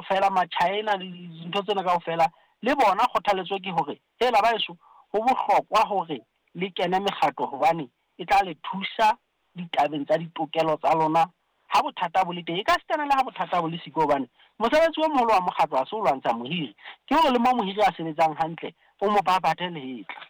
kaofela, Machina le dintho tsena kaofela, le bona kgothaletso ke hore hela baheso, ho bohlokwa hore le kene mekgatlo hobane e tla le thusa ditabeng tsa ditokelo tsa lona ha bothata bo le teng. E ka sitana le ha bothata bo le siko hobane mosebetsi o moholo wa mokgatlo ha se ho lwantsha mohiri, ke hore le mo mohiri a sebetsang hantle o mo babathe lehetla.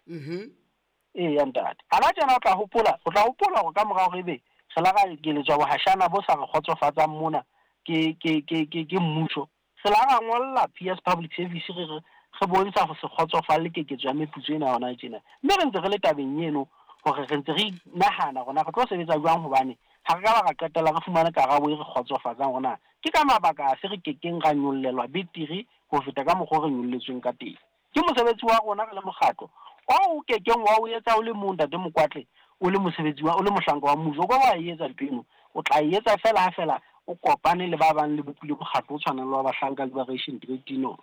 Eya ntate. Hana tjena o tla hopola, o tla hopola hore ka mora hore ebe re la ra ekeletswa bohashana bo sa re kgotsofatsang mona ke ke ke ke ke mmuso, re la ra ngolla PS Public Service re re re bontsha ho se kgotsofalle keketso ya meputso ena hona tjena. Mme re ntse re le tabeng eno hore re ntse re nahana hore na re tlo sebetsa jwang hobane ha re ka ba ra qetella re fumane karabo e re kgotsofatsang hore na ke ka mabaka afe re kekeng ra nyollelwa betere ho feta ka mokgwa o re nyolletsweng ka teng. Ke mosebetsi wa rona re le mokgatlo oo o ke keng wa o etsa o le mong, Ntate Mokwatle, o le mosebetsi wa, o le mohlanka wa mmuso. O ka wa e etsa ntho eno. O tla e etsa feela ha feela o kopane le ba bang le bopile mokgatlo o tshwanang le wa Bahlanka Liberation Trade Union.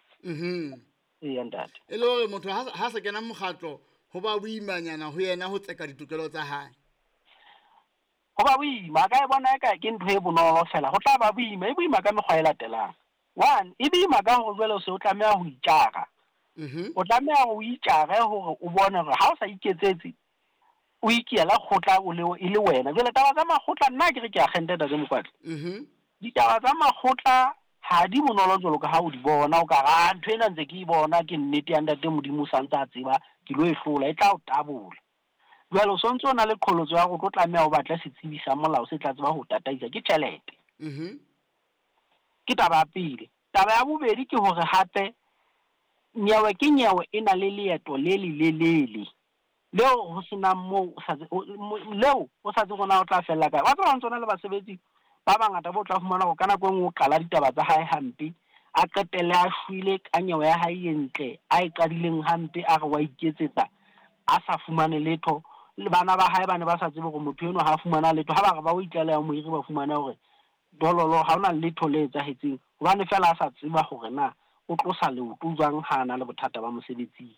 Eya, ntate. E le hore motho ha sa kena mokgatlo, ho ba boimanyana ho yena ho tseka ditokelo tsa hae. Ho ba boima. A ka e bona eka ke ntho e bonolo feela. Ho tla ba boima. E boima ka mekgwa e latelang. One, e boima ka hore jwale o se o tlameha ho itjara. O tlameha hore o itjare hore o bone hore ha o sa iketsetse, o ikela kgotla o le, e le wena. Jwale taba tsa makgotla, nna ke re ke akgente Ntate Mokwatle. Ditaba tsa makgotla ha di bonolo jwalo ka ha o di bona. O ka re, ah, ntho ena ntse ke e bona, ke nnete ya Ntate Modimo o sa ntse a tseba, ke lo e hlola, e tla o tabola. Jwale o sontse o na le qholotso ya hore o tlo tlameha o batle setsebi sa molao se tla tseba ho o tataisa, ke tjhelete. Ke taba ya pele. Taba ya bobedi ke hore hape nyewe ke nyewe e na le leeto le lelelele leo ho se nang moo o sa leo o sa tsebe hore na o tla fella kae. Wa tseba ho ntso na le basebetsi ba bangata bo tla fumana hore ka nako e nngwe o qala ditaba tsa hae hampe, a qetelle a shwele ka nyewe ya hae e ntle a e qadileng hampe, a re wa iketsetsa a sa fumane letho. Le bana ba hae ba ne ba sa tsebe hore motho enwa ha a fumana letho. Ha ba re ba o itlaleha mohiri, ba fumana hore dololo ha hona letho le etsahetseng hobane feela a sa tseba hore na o tlosa leoto jwang ha a na le bothata ba mosebetsing.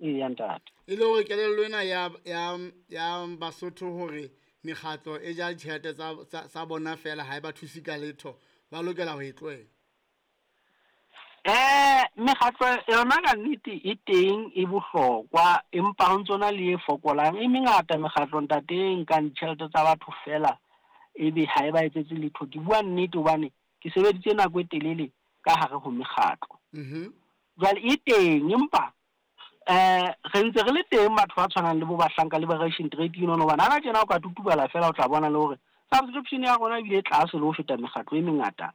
Eya ntate. E le hore kelello ena ya, ya, ya Basotho hore mekgatlo e ja ditjhelete tsa, tsa, tsa bona feela ha e ba thuse ka letho, ba lokela ho e tlohela. Mekgatlo yona ka nnete e teng e bohlokwa, empa ho ntso na le e fokolang. E mengata mekgatlo ntate e nkang ditjhelete tsa batho feela ebe ha e ba etsetse letho. Ke bua nnete hobane ke sebeditse nako e telele ka hare ho mekgatlo. Jwale e teng, empa re ntse re le teng batho ba tshwanang le bo Bahlanka Liberation Trade Union, hobane hana tjena o ka tutubala feela o tla bona le hore subscription ya rona ebile e tlase le ho feta mekgatlo e mengata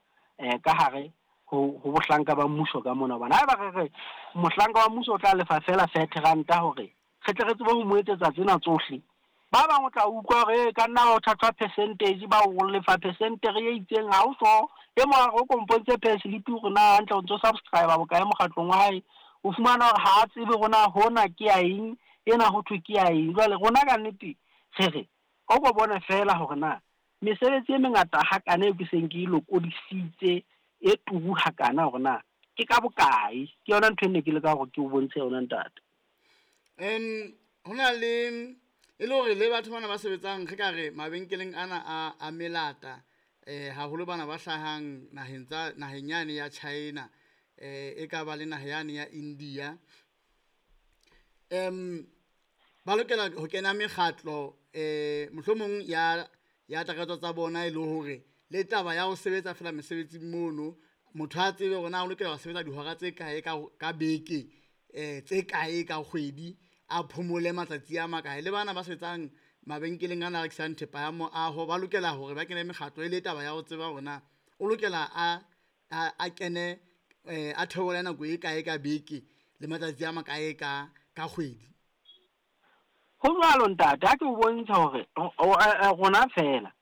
ka hare ho bohlanka ba mmuso ka mona. Hobane haeba re re mohlanka wa mmuso o tla lefa feela 30 ranta hore re tle re tsebe ho mo etsetsa tsena tsohle, ba bang o tla utlwa hore ka nna ba o thathwa percentage, ba o lefa percentage e itseng, ha o so e mong a re o kompontse pay slip hore na hantle o ntso subscribe bokae mokgatlong wa hae, o fumana hore ha a tsebe hore na hona ke ya eng, ena ho thwe ke ya eng. Jwale rona ka nnete re re o ko bone feela hore na mesebetsi e mengata hakana eo ke seng ke e lokodisitse e turu hakana hore na ke ka bokae. Ke yona ntho e ne ke leka hore ke o bontshe yona ntate. Ho na le e le hore le batho bana ba sebetsang re ka re mabenkeleng ana a melata, haholo bana ba hlahang naheng tsa naheng yane ya China, e ka ba le naha yane ya India, ba lokela ho kena mekgatlo, mohlomong ya takatso tsa bona, e le hore le taba ya ho sebetsa fela mesebetsing mono, motho a tsebe hore na o lokela ho sebetsa dihora tse kae ka beke, tse kae ka kgwedi, a phomole matsatsi a makae. Le bana ba sebetsang mabenkeleng ana a rekisang thepa ya moaho ba lokela hore ba kene mekgatlo, e le taba ya ho tseba hore na o lokela a kene, a theole nako e kae ka beke le matsatsi a makae ka kgwedi. Ho jwalo ntate, ha ke o bontsha hore rona fela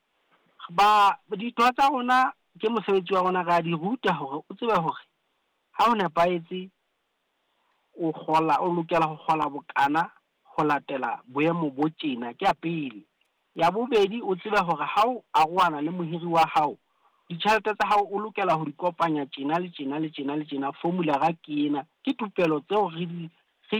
ba ditho tsa rona ke mosebetsi wa rona, re a di ruta hore o tsebe hore ha o nepahetse o kgola, o lokela ho kgola bokana ho latela boemo bo tjena. Ke ya pele. Ya bobedi, o tsebe hore ha o arohana le mohiri wa hao, ditjhelete tsa hao o lokela ho di kopanya tjena le tjena le tjena le tjena, formula ra ke ena. Ke thupelo tseo re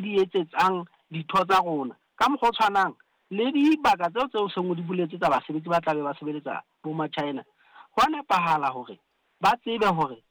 di etsetsang ditho tsa rona. Ka mokgwa o tshwanang le dibaka tseo tseo seng o di boletse tsa basebetsi ba tlabe ba sebeletsa bo ma-China, ho a nepahala hore ba tsebe hore